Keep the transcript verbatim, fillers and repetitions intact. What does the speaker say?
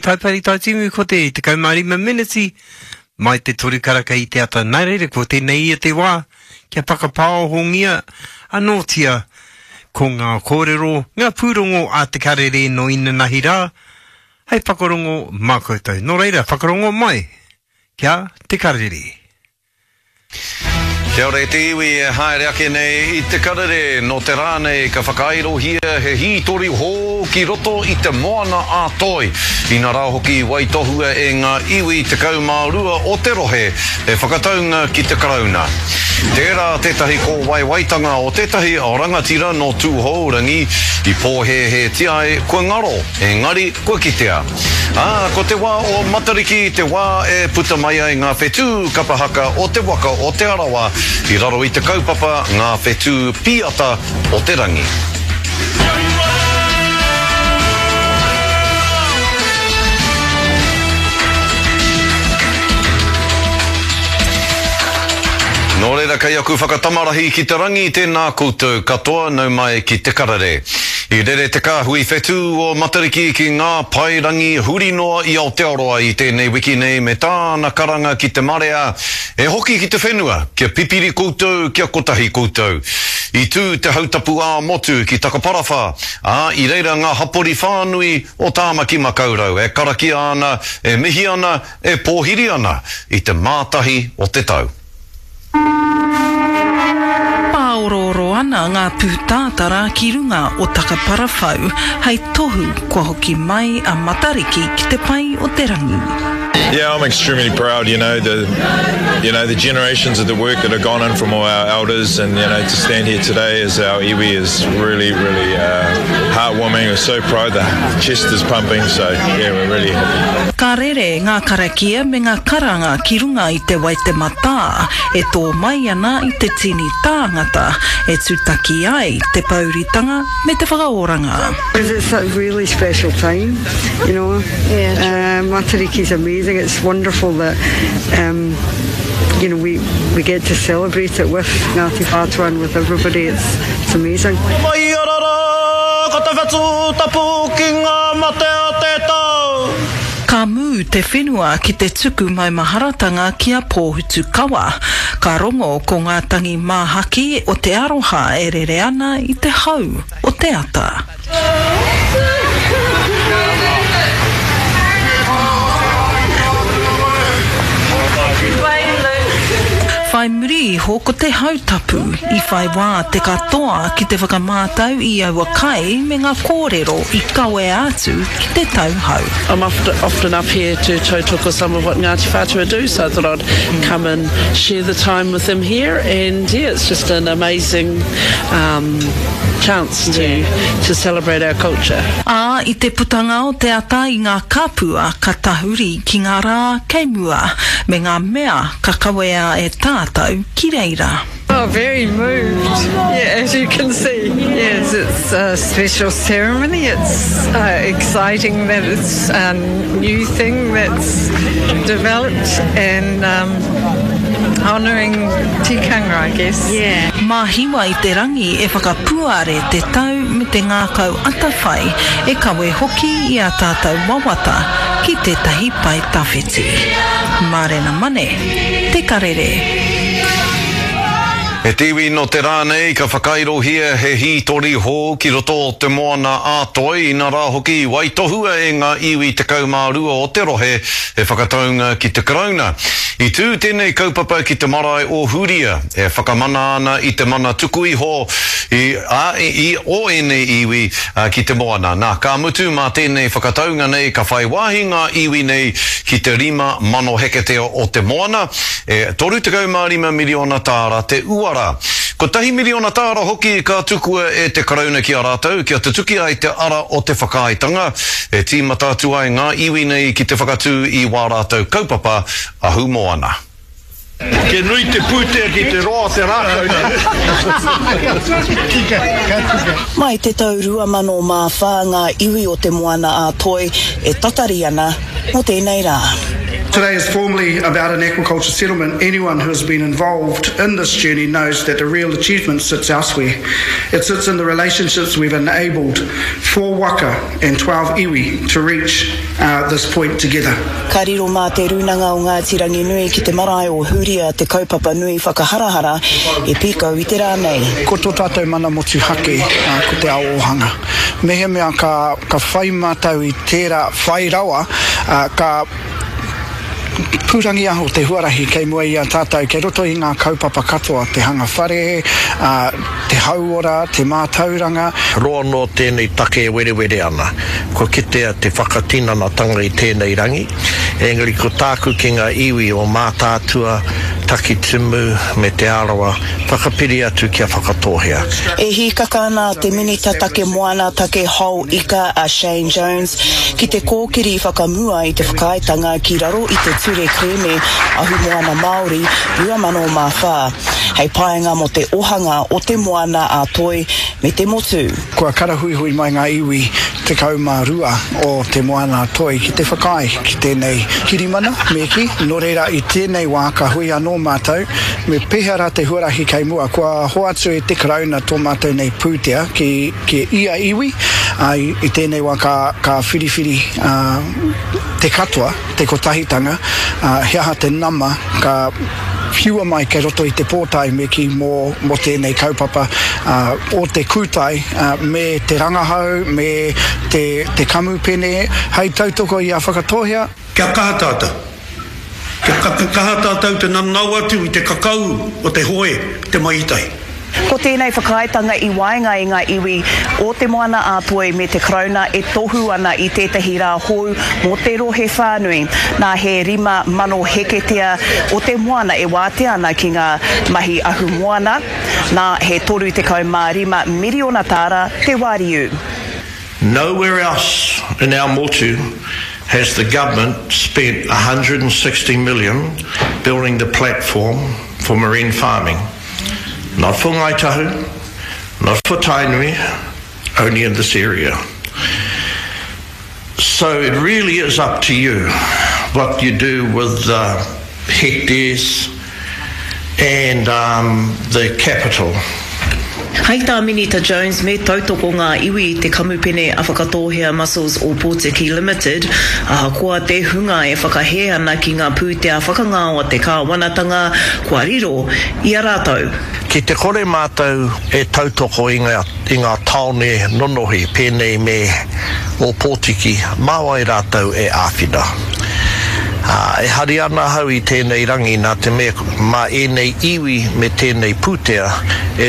Taipari Taitimu ko te tekau mā rima meneti mai te toru karaka i te ata. Nā reira, ko tēnei ia te wā kia whakapāohongia anōtia ko ngā kōrero, ngā pūrongo a Te Karere nō inanahi rā, hei whakarongo mā koutou. Nō reira, whakarongo mai kia Te Karere. Kia ora e te iwi e haere ake nei i Te Karere, nō te rā nei ka whakairohia he hītori hou ki roto i te Moana a Toi. Ina rā hoki i waitohua e ngā iwi tekau mā rua o te rohe he whakataunga ki te Karauna. Tērā tētahi kōwaiwaitanga o tētahi rangatira nō Tūhourangi i pōhēhētia ai kua ngaro, engari kua kitea. Ā, ko te wā o Matariki te wā e puta mai ai ngā whetū kapa haka o te waka o Te Arawa i raro i te kaupapa Ngā Whetū Pīata o te Rangi. Nō reira, kei aku whakatamarahi ki te rangi, tēnā koutou katoa, nau mai ki Te Karere. I rere te kāhui whetū o Matariki ki ngā paerangi huri noa i Aotearoa i tēnei wiki nei me tāna karanga ki te marea, E hoki ki te whenua, kia pipiri koutou, kia kotahi koutou. I tū te hautapu ā-motu ki Takaparawhā, ā, i reira ngā hapori whānui o Tāmaki Makaurau e karakia ana, e mihi ana, e pōhiri ana i te mātahi o te tau. Pāorooro ana ngā pūtātara ki runga o Takaparawhau hei tohu kua hoki mai a Matariki ki te pae o te rangi. Yeah, I'm extremely proud, you know, the you know, the generations of the work that have gone in from all our elders and, you know, to stand here today as our iwi is really, really uh, heartwarming. We're so proud, the chest is pumping, so yeah, we're really happy. Ka rere ngā karakia me ngā karanga ki runga i te Waitematā e tō mai ana i te tini tāngata e tūtaki ai te pouritanga me te whakaoranga. Because it's a really special time, you know. Yeah. Uh, Matariki's amazing. It's wonderful that um, you know, we, we get to celebrate it with Ngāti Whātua and with everybody. It's, it's amazing. Mai arara, ko te whetū tapu ki ngā mate o te tau. Ka mū te whenua ki te tuku maumaharatanga ki a Pōhutukawa. Ka rongo ko ngā tangi māhaki o te aroha e rere ana i te hau o te ata. Whai muri iho ko te hautapu, i whai wā te katoa ki te whakamātau i aua kai me ngā kōrero i kawea atu ki te tauhou. I'm often up here to tautoko some of what Ngāti Whātua do, so I thought I'd come and share the time with them here, and yeah, it's just an amazing um, chance to, to celebrate our culture. Ā, i te putanga o te ata i ngā kapua ka tahuri ki ngā rā kei mua, me ngā mea ka kawea e tātou ki reira. Oh, very moved, yeah, as you can see. Yes, it's a special ceremony. It's uh, exciting that it's a new thing that's developed and um, honouring tikanga, I guess. Yeah. Mā Hiwa i te rangi e whakapuare te tau me te ngākau atawhai e kawe hoki i ā tātou wawata ki tētahi pae tawhiti. Mārena Mane, Te Karere. He te iwi nō te rā nei ka whakairohia he hītori hou ki roto o Te Moana a Toi, ina rā hoki i waitohua e ngā iwi tekau mā rua o te rohe he whakataunga ki te Karauna. I tū tēnei kaupapa ki te marae o Huria, e whakamana ana i te mana tuku iho i, a, i, o ēnei iwi ki te moana. Nā, ka mutu mā tēnei whakataunga nei ka whai wāhi ngā iwi nei ki te rima mano heketea o te moana, e toru tekau mā rima miriona tāra te uara. Kotahi miriona tāra hoki ka tukua e te Karauna ki a rātou kia tutuki ai te ara o te whakaaetanga, e tīmata atu ai ngā iwi nei ki te whakatū i wā rātou kaupapa ahumoana. Ke nui te pūtea ki te roa o te rākau nei. Tika, ka tika. Mai te tau rua mano mā whā ngā iwi o Te Moana-a-Toi e tatari ana mō tēnei rā. Today is formally about an aquaculture settlement. Anyone who has been involved in this journey knows that the real achievement sits elsewhere. It sits in the relationships we've enabled four waka and twelve iwi to reach uh, this point together. Ka riro mā Te Rūnanga o Ngāti Ranginui ki te marae o Huria te kaupapa nui whakaharahara e pīkau i te rā nei. Ko tō tātou mana motuhake, uh, ko te ao ōhanga. Mehemea ka, ka whai mātou i tērā whai rawa, uh, ka pūrangiaho te huarahi kei mua i a tātou, kei roto i ngā kaupapa katoa, te hanga whare, uh, te hauora, te mātauranga. Roa noa tēnei take e werewere ana. Kua kitea te whakatinanatanga i tēnei rangi, engari ko tāku ki ngā iwi o Mātaatua, Takitimu me Te Arawa, whakapiri atu ki a Whakatōhea. E hīkaka ana te Minita Take Moana Take Hao Ika a Shane Jones ki te kōkiri whakamua i te whakaaetanga ki raro i te Ture Kerēme Ahumoana Māori rua mano mā whā, hei painga mō te ohanga o te Moana a Toi me te motu. Kua karahuihui mai ngā iwi tekau mā rua o te Moana a Toi ki te whakaae ki tēnei kirimana, me kī, nō reira i tēnei wā ka hui anō mātou, me pēhea rā te huarahi kei mua. Kua hoatu e te Karauna tō mātou nei pūtea ki, ki ia iwi, ā, i tēnei wā ka, ka whiriwhiri ā, te katoa, te kotahitanga, ā, he aha te nama ka whiua mai kei roto i te pōtae me kī mō, mō tēnei kaupapa, ā, o te kūtai, ā, me te rangahau, me te, te kamupene hei tautoko i a Whakatōhea. Kia kaha tātou. Kia kaha tātou te nanao atu i te kakau o te hoe, te mahi tahi. Ko tēnei whakaaetanga i waenga i ngā iwi o Te Moana-a-Toi me te Karauna e tohu ana i tētahi rā hou mō te rohe whānui. Nā he rima mano heketea o te moana e wātea ana ki ngā mahi ahumoana, nā he toru tekau mā rima miriona tāra te wāriu. Nowhere else in our motu has the government spent a hundred and sixty million building the platform for marine farming. Not for Ngāi Tahu, not for Tainui, only in this area. So it really is up to you what you do with the hectares and, um, the capital. Hei tā Minita Jones me tautoko ngā iwi i te kamupene a Whakatōhea Mussels Ōpōtiki Limited, ahakoa te hunga e whakahē ana ki ngā pūtea whakangao a te kāwanatanga kua riro i a rātou. Ki te kore mātou e tautoko i ngā, i ngā tāone nonohi pēnei me Ōpōtiki, mā wai rātou e āwhina? Ā, e hari ana ahau i tēnei rangi nā te mea mā ēnei iwi me tēnei pūtea e